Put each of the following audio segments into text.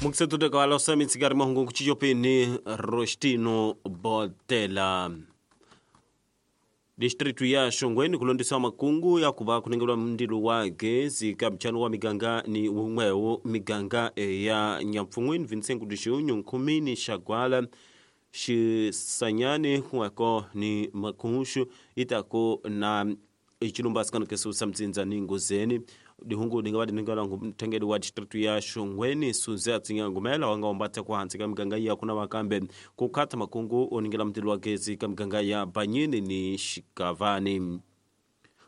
Mukisetutekawala osamitsikari mahungu kuchichopeni Rostino Botela. Distritu ya Shongweni kulondesa makungu ya kuva kunengelwa mndilo wa gezi ka mchano wa miganga ni umwewo miganga ya Nyapfungwini Vincent Kudishunyu Nkhumini Shagwala Xisanyani kuweko ni Makhushu itako na ichilumba sikano kesusa mtsinza ni Ngozeni dihungu dingava diningala mthengeli wa distritu ya Shongweni Suze Atsinga Ngumela wanga ombatha kuhansi ka miganga ya kuna wakambe kukhatha makungu oningela mtilo wa gezi ka miganga ya Banyini ni Xikavani.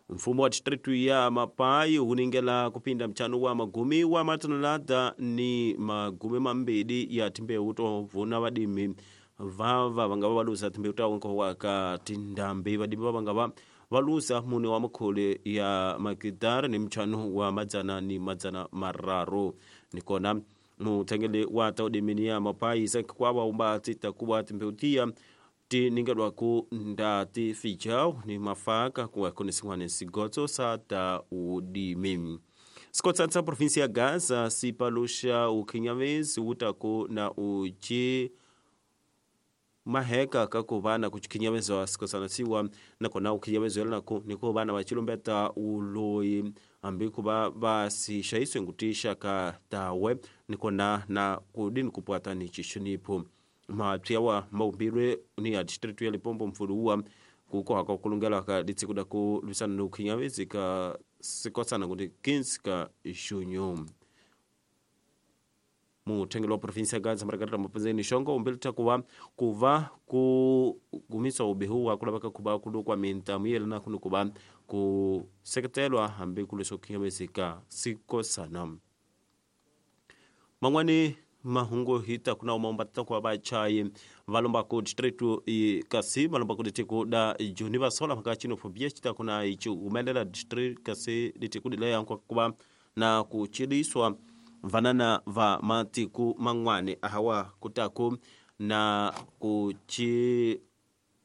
Mfumo wa distritu ya Mapai uningela kupinda mchano wa magumi wa matonelada ni magumi mambili ya timbeu tovuna vadimi vava vangava valusa timbeu tawo nkohwaka tindambi vadimi vavangava valusa mune wa makhole ya makitara ni mchano wa madzana ni madzana mararu nikona muthengeli wa taudimini ya Mapai sankikwawa umbati takuwa timbeu tiya tiningelwaku nda tifijao ni mafaka kuweko ni sin'wana sigotso sa ta udimi. Sikotsa provinsi ya Gaza sipalusha ukhinyavezi wutaku na uchi maheka kakuvana kuchikhinyaveza sikosana siwa nakona ukhinyaveza nako niko vana vachilumbeta uloyi ambi kuva vasixaiswe ngutisha ka tawe nikona na kudini kupwata ni chixonipho mapya wa maumbirwe ni ya distritu ya Limpopo mfuluwa kukohaka kulungela ka ditsikuda ku lwisana ni ukhinyavezi ka sikosana kuti 15 ka junho. Muthengeli wa provinsi ya Gaza Margarita Mapenzeni Shongo umbelitha kuva ku gumisa ubihu kulaveka kuva kulukwa mintamu yelana kuni kuva ku seketelwa hambi kulwiswa ukhinyavezi ka sikosana. Man'wani mahungu hita kuna umaombatata kwa vachayi valomba ku distritu kasi valomba ku ditiko da joni vasola mhaka xenophobia xita kuna ichi humelela district kasi ditiko dileya kuva na ku chiliswa vanana va matiku man'wani ahawa kutaku na ku chi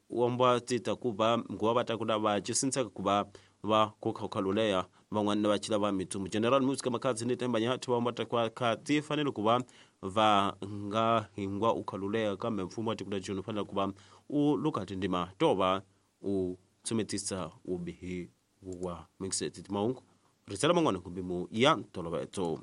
womba tita kuva nguva va ta kuna va chisintsaka kuva va kukhawukhaluleya van'wana va chila va mitsumu General Music Makhadzi ni Themba Nyathi va omba kwa khati fanele kuva va nga hingwa ukhaluleya kambe mfumo wa tiko la Joni fanele kuva u luka tindima tova u tsumetisa ubihi wa mixed timahungu risela man'wana kumbe mu ya ntoloveto.